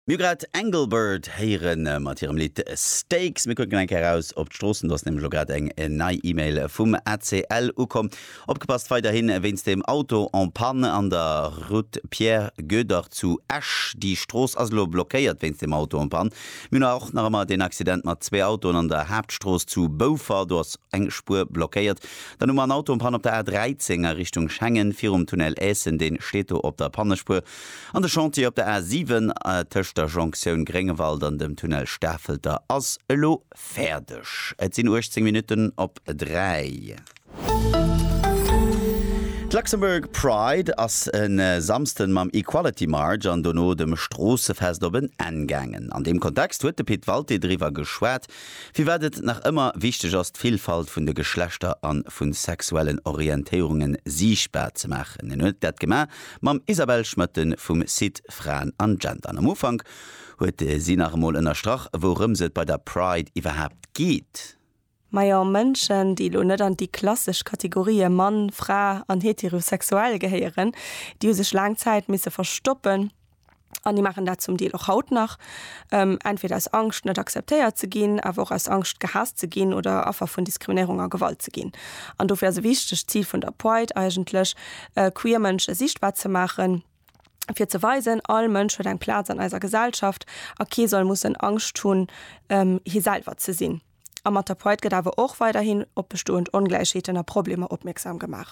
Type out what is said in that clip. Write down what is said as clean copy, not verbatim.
Mir hu grad Engelbert héiere mat hirem Lidd Steaks. Mir kucken eng Kéier eraus op d'Stroossen. Do ass nämlech elo grad eng nei E-Mail vum ACL ukomm. Opgepasst weiderhi wéinst dem Auto en panne an der Route Pierre Goedert zu Esch. Déi Strooss ass elo blockéiert wéinst dem Auto en panne. Mir hunn och nach ëmmer deen Accident mat zwee Autoen an der Haaptstrooss zu Boufer. Do ass eng Spuer blockéiert. Dann hu mer en Auto en panne op der A13 a Richtung Schengen virum Tunnel Aessen. Dee steet do op der Pannespuer. An de Chantier op der A 7 tëscht der Jonktioun Gréngewald an dem Tunnel Stafelter ass elo fäerdeg. Et sinn 18 Minutten op 3. D'Luxembourg Pride ass e Samsden mam Equality March an dono dem Stroossefest op en Enn gaangen. An deem Kontext huet de Pit Walté driwwer geschwat, firwat et nach ëmmer wichteg ass, d'Villfalt vun de Geschlechter a vu sexuellen Orientéierunge siichtbar ze maachen. En huet dat gemaach Mam Isabelle Schmoetten vum Site Fraen an Gender. An am Ufank huet si nach emol ënnerstrach, wourëms et bei der Pride iwwerhaapt geet. Majo, Mënschen, déi elo net an déi klassesch Kategorië Mann, Fra an heterosexuell gehéieren, déi hu sech laang Zäit misse verstoppen. An déi maachen dat zum Deel och haut nach, entweder aus Angscht, net akzeptéiert ze ginn, awer och aus Angscht, gehaasst ze ginn oder Affer vun Diskriminéierung a Gewalt ze ginn. An dofir ass e wichtegt Zil vun der Pride eigentlech, queer Mënsche sichtbar ze maachen, fir ze weisen, all Mënsch huet eng Plaz an eiser Gesellschaft a kee soll mussen Angscht hunn, hie selwer ze sinn. A mat der Pride gëtt awer och weiderhin op bestoend Ongläichheeten a Problemer opmierksam gemaach.